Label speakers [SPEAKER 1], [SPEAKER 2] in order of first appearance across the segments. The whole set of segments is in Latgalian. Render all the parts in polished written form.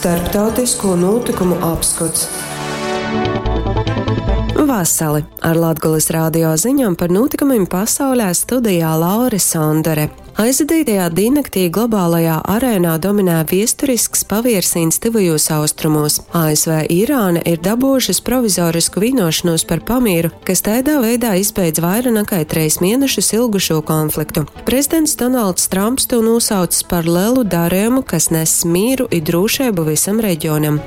[SPEAKER 1] Starptautisko nūtykumu apskots. Vasali! Ar Latgolys radio ziņom par nūtykumim pasaulē studijā Laura Sondore. Aizvadītajā dīnnaktī globālajā arēnā dominē viesturisks paviersīņs Tyvajūs Austrumūs. ASV i Irāna ir dabuojušys provizorisku vīnuošonūs par pamīru, kas taidā veidā izbeidz vaira nakai treis mienešus ilgušū konfliktu. Prezidents Donalds Tramps tū nūsaucs par lelu darejumu, kas ness mīru i drūšeibu vysam reģionam.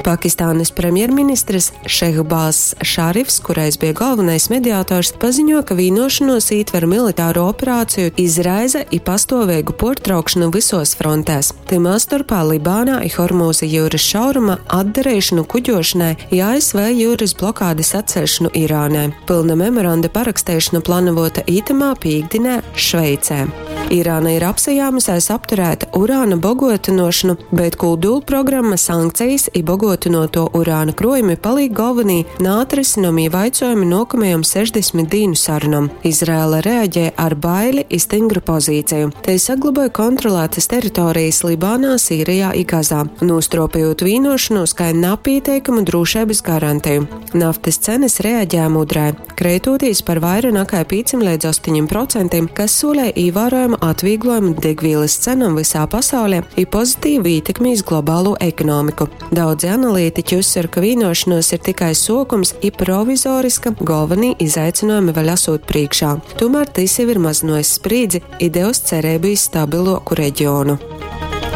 [SPEAKER 1] Pakistānys premjerministrs Šehbāzs Šarifs, kurais bija galvenais mediators, paziņo, ka vīnuošonuos ītver militāro operāciju izraize i pastuoveigu puortraukšonu vysuos frontēs, tymā storpā Libānā i Hormūza jiurys šauruma atdareišonu kuģuošonai i ASV jiurys blokādis atceļšonu Irānai. Pylna memoranda paraksteišona planavuota itamā pīktdinē Šveicē. Irāna ir apsajāmusēs apturēt urāna boguotynuošonu, bet kūdulprogramma, sankcejis i boguotynuotuo urāna kruojumi palīk golvonī naatrysynomī vaicuojumi nuokamajom 60 dīnu sarunom. Izraela reaģē ar baili i styngru pozīceju. Tei sagloboj kontrolātys teritorejis Libānā, Sīrejā i Gazā, nūstruopejūt vīnuošonūs kai napīteikamu drūšeibys garanteju. Naftys cenys reaģēja mudrai, kreitūtīs par vaira nakai pīcim leidz ostoņim procentim, kas sūlej īvārojamu atvīglojumu degvīlys cenom vysā pasaulē i pozitīvu ītekmi iz globalū ekonomiku. Daudzi analītiķi uzsver, ka vīnuošonuos ir tikai suokums i provizoriska, golvonī izaicynuojumi vēļ asūt prīškā. Tūmār tys jau ir mazynuojs sprīdzi i devs cereibu iz stabiluoku regionu.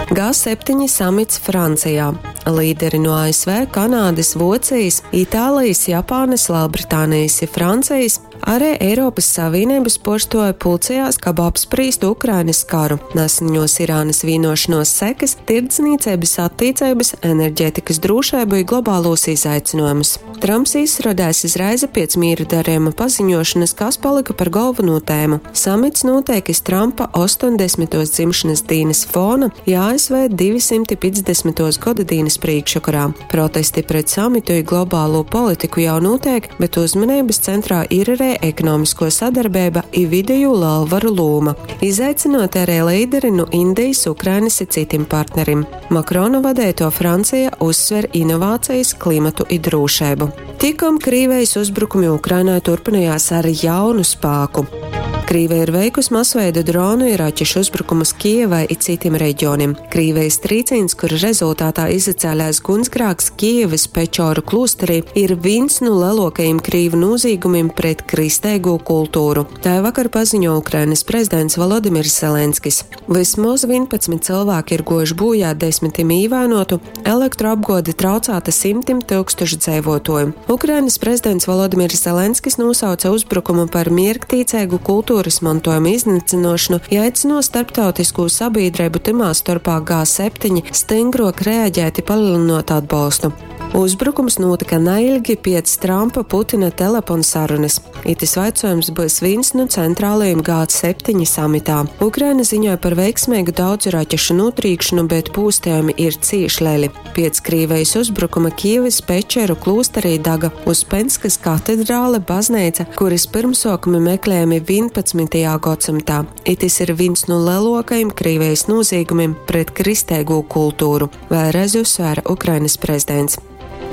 [SPEAKER 1] G7 samits Francijā. Līderi nu ASV, Kanādys, Vuocejis, Itālejis, Japānys, Lelbritānejis i Francejis, arī Eiropys Savīneibys puorstuovi pulcejās, kab apsprīstu Ukrainys karu, naseņuos Irānys vīnuošonuos sekys, tirdznīceibys attīceibys, enerģetikys drūšeibu i globālūs izaicynuojumus. Tramps izsrodēs izreize piec mīra darejuma paziņošonys, kas palyka par golvonū tēmu. Samits nūteik iz Trampa ostoņdesmituos dzimšonys dīnys fona i ASV 250. Godadīnys prīškvokorā. Protesti pret samitu i globalū politiku jau nūteik, bet uzmaneibys centrā ir arī ekonomiskuo sadarbeiba i videjū lelvaru lūma. Izaicynuoti arī līderi nu Indejis, Ukrainys i cytim partnerim. Makrona vadeituo Franceja uzsver inovācejis, klimatu i drūšeibu. Tikom Krīvejis uzbrukumi Ukrainai turpynojās ar jaunu spāku. Krīveja ir veikusi masveida dronu i raķešu uzbrukumus Kijevai i cytim reģionim. Krīvejis trīcīņs, kura rezultātā izacēlēs gunsgrāks Kijevys Pečoru klūsterī, ir vīns nu leluokajim krīvu nūzīgumim pret kristeigū kultūru. Tai vakar paziņo Ukrainys prezidents Volodimirs Zelenskis. Vysmoz 11 cylvāki ir guojuši būjā, desmitim īvainotu, elektroapguode traucāta symtim tyukstušu dzeivuotuoju. Ukrainys prezidents Volodimirs Zelenskis nūsauce uzbrukumu par mierktīceigu kulturys montuojuma iznycynuošonu i aicynuo starptautiskū sabīdreibu, tymā storpā G7, styngruok reaģēt i palelynuot atbolstu. Uzbrukums nūtyka nailgi piec Trampa-Putina teleponsarunys. Itys vaicuojums byus vīns nu centralajim G7 samitā. Ukraina ziņoj par veiksmeigu daudzu raķešu nūtrīkšonu, bet pūstejumi ir cīš leli. Piec Krīvejis uzbrukuma Kijevys Pečeru klūsterī daga Uspenskas katedrāle, bazneica, kurys pyrmsuokumi meklejami 11. godsymtā. Itys ir vīns nu leluokajim Krīvejis nūzīgumim pret kristeigū kultūru, vēlreiz uzsvēra Ukrainys prezidents.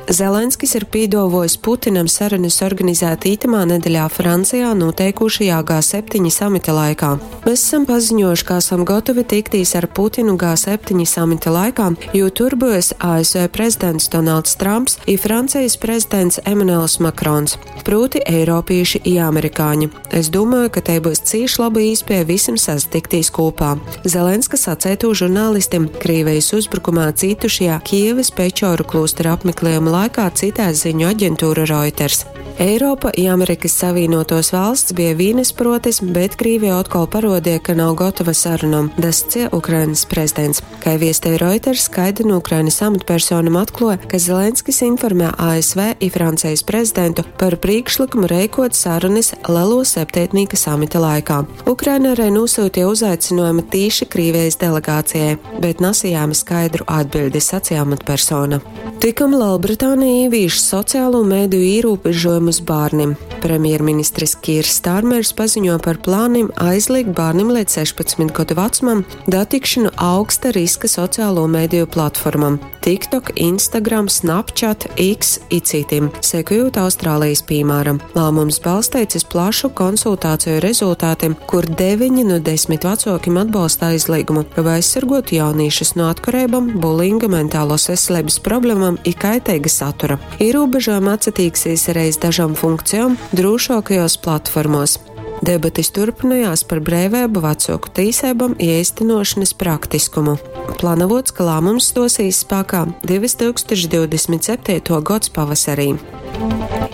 [SPEAKER 1] Zelenskis ir pīduovuojs Putinam sarunys organizēt itamā nedeļā Francijā nūteikūšajā G7 samita laikā. Mēs esam paziņojuši, ka esam gotovi tiktīs ar Putinu G7 samita laikā, jo tur byus ASV prezidents Donalds Trumps i Francejis prezidents Emanuels Makrons. Prūti, eiropīši i amerikāņi. Es dūmoju, ka tei byus cīš loba īspieja vysim sasatiktīs kūpā. Zelenska saceitū žurnālistim Krīvejis uzbrukumā cītušajā Kijevys Pečoru klūstera apmekliejuma laikā citē ziņu aģentūra Reuters. Eiropa i Amerikys Savīnuotuos valsts bija vīnyspruotis, bet Krīvija otkol paruodie, ka nav gotova sarunom, dascie Ukrainys prezidents. Kai viestej Reuters, kaida nu Ukrainys amatpersonam atkluoja, ka Zelenskis informē ASV i Francejis prezidentu par prīkšlykumu reikuot sarunys Leluo septeitnīka samita laikā. Ukraina arī nūsyutie uzaicynuojumu tīši Krīvejis delegācijai, bet nasajāma skaidru atbiļdi, saceja amatpersona. Tikom Lelbritānija īvīš sociālo mediju īrūbežojumus bārnim. Premjerministrs Kīrs Stārmers paziņo par plānim aizliegt bārnim līdz 16 gadu vecumam datikšanu augsta riska sociālo mediju platformam. TikTok, Instagram, Snapchat, X i citim, sekojūt Austrālijas pīmāram. Lāmums balsteits iz plašu konsultāciju rezultātim, kur 9 nu 10 vacuokim atbolsta aizlīgumu, kab aizsarguotu jaunīšus nu atkareibom, bulinga, mentālos veselības problemom i kaiteiga satura. Īrūbežojumi atsatīksīs arī iz dažom funkcijom drūšuokajuos platformuos. Debatis turpynojās par breiveibu, vacuoku tīseibom i eistynuošonys praktiskumu. Planavuots, ka lāmums stuosīs spākā 2027. gods pavasarī.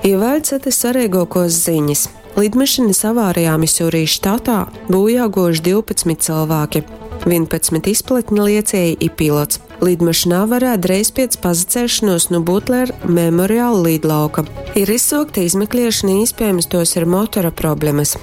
[SPEAKER 1] I vēļ cytys svareiguokuos ziņis. Lidmašynys avārijā Misurijas štatā būjā guojuši 12 cylvāki, 11 izpletņa liecieji i pilots. Lidmašyna avarē dreiz piec pasaceļšonuos nu Butler Memorial lidlauka. Ir izsuokta izmekliešona, īspiejams, tuos ir motora problemys.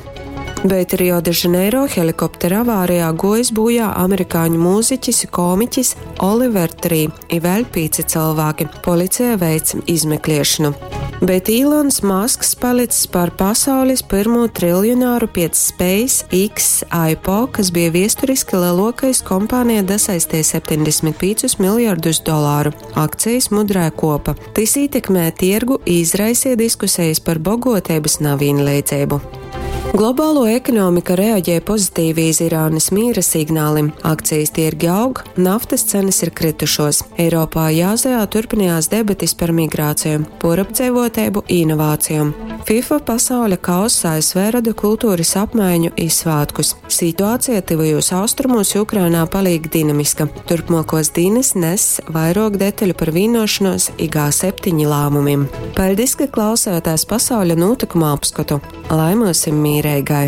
[SPEAKER 1] Bet Rio de Janeiro helikoptera avārijā guojs būjā amerikāņu mūziķis i komiķis Oliver Tree i vēļ pīci cylvāki. Policija veic izmekliešonu. Bet Īlons Masks palics par pasaulis pyrmū triljonāru piec Space X IPO, kas bija viesturiski leluokais, kompānija dasaisteja 75 miljardus dolāru. Akcijas mudrē kopa. Tys ītekmē tiergu i izraiseja diskusejis par boguoteibys navīnleidzeibu. Globāluo ekonomika reaģē pozitīvi iz Irānys mīra signālim, akcijas tiergi aug, naftys cenys ir krytušuos. Eiropā i Āzejā turpinājās debatis par migrāciju, puorapdzeivuoteibu i inovācijom. FIFA pasauļa kauss ASV roda kulturys apmaiņu i svātkus. Situācija Tyvajūs Austrumūs i Ukrainā palīk dinamiska. Turpmuokuos dīnys ness vairuok detaļu par vīnuošonuos i G7 lāmumim. Paļdis, ka klausējotēs pasauļa nūtykumu apskotu! Lai myusim mīreigai!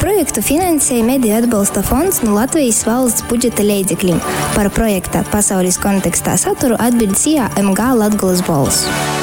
[SPEAKER 2] Projektu finansej Mediju atbolsta fonds nu Latvejis valsts budžeta leidzeklim. Par projekta Pasaulis kontekstā saturu atbiļd SIA MG Latgolys Bolss.